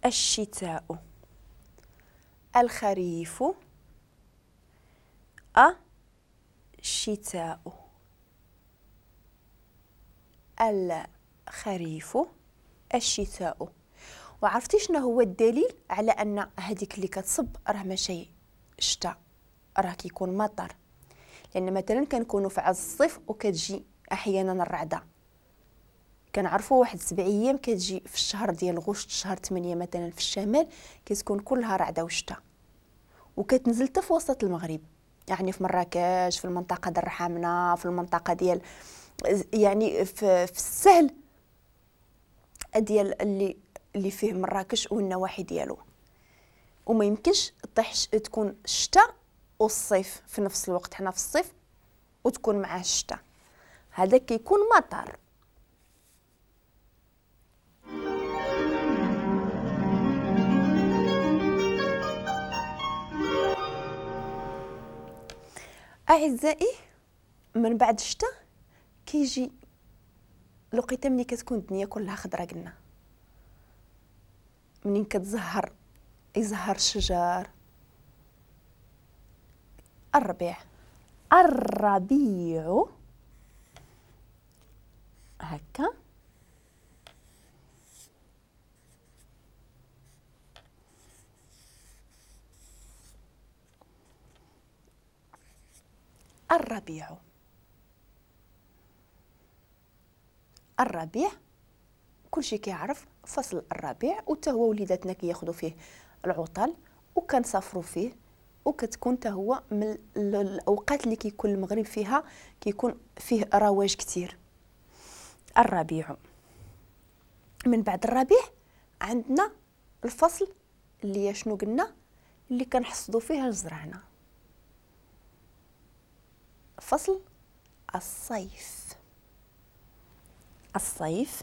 الشتاء. الخريف، الشتاء. الخريف، الشتاء. وعرفتي شنو هو الدليل على ان هذيك اللي كتصب راه ماشي شتاء، راه كيكون مطر؟ لان مثلا كنكونوا في عز الصيف وكتجي احيانا الرعده، كنعرفوا واحد 7 ايام كتجي في الشهر ديال غشت، شهر 8 مثلا في الشمال كتكون كلها رعده وشتاء، وكتنزل حتى في وسط المغرب، يعني في مراكش، في المنطقة ديال الرحامنه، في المنطقة ديال يعني في السهل ديال اللي فيه مراكش والنواحي ديالو. وما يمكنش طيح تكون الشتاء والصيف في نفس الوقت، حنا في الصيف وتكون معاه الشتاء، هذا كيكون مطر. اعزائي، من بعد الشتاء كيجي الوقيته ملي كتكون الدنيا كلها خضرا، قلنا منين كتزهر، يزهر الشجر، الربيع. الربيع هكا، الربيع. الربيع كلشي كيعرف فصل الربيع، وتا هو وليداتنا كياخذوا فيه العطل وكنسافروا فيه، وكتكون تا هو من الاوقات اللي كيكون المغرب فيها كيكون فيه رواج كتير. الربيع. من بعد الربيع عندنا الفصل اللي شنو قلنا اللي كنحصدوا فيه الزرعنا، فصل الصيف. الصيف.